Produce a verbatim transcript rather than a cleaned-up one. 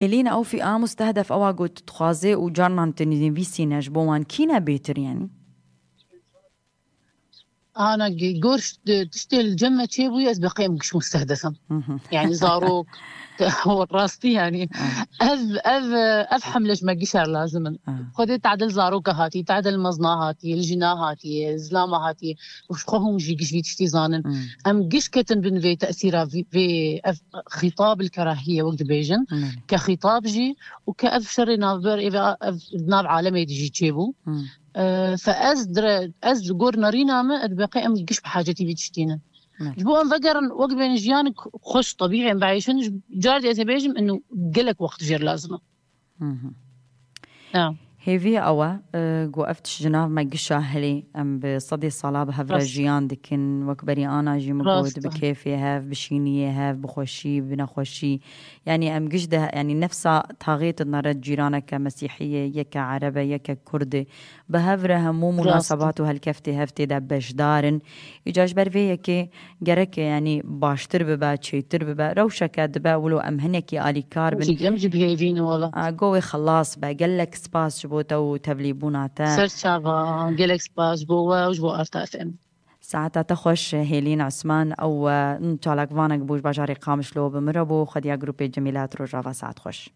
Hêlîn, ew fî-, a mustehdef ewa ku tu dixwazê û carnan tu nivîsîne ji bo wan kî ne bêtir, yanî? Ana gor tiştê li cem me çêbûye, ez beqê em giş mustehdef im. Yani zarok, rastî yani. Ev, ev, ev hemle ji me gişer lazim in. Xwedê tadil zaroka hatî, tadil mezna hatî, li jina hatî, zilama hatî. Û ji xwe hûn jî giş vî tiştî zanin. Em giş ketin bin vê tesîra vê, vê ev xîtab li kerahiye wek dibêjin. Ke xîtab jî û ke ev şerê navber, ev, ev nav alemê de jî çêbû. Fe ez dire, ez li gor nerîna me, ez beqê em giş bi hacetî vî tiştî ne. Ji bo em vegerin, wek bên jiyanik xweş, tebîî em bieyşin, car dê ez ê bêjim, inu gelek wext jêr lazim e. Hêvî ew e ku ev tişt ji nav me gişa hilê, em bi sedê sala bi hev re jiyan dikin, wek berî ana jî min got, bi kêfê hev, bi şîniyê hev, bi xweşî, bi nexweşî. Yanî em giş de, yanî nefsa taxê tu dinere cîraneke mesîhî ye, yeke ereb e, yeke kurd e. Bi hev re hemû munasebat û helkeftê hev tê de beşdar in. Îca ji ber vê yekê gerek e, yanî baştir bibe, çêtir bibe. Rewşeke dibe wilo em hinekî alîkar bin. Em jî bi hêvî ne wala. Go wê xelas be. Gelek spas ji bo te û tevlîbûna te. Ser çava, gelek spas ji bo we û ji bo Arta F M. Saeta te xweş Hêlîn Osman, ew çalakvanek bû ji bajarê Qamişlo, bi min re bû, xwediya grûpê Cemîlat, rojava saet xweş.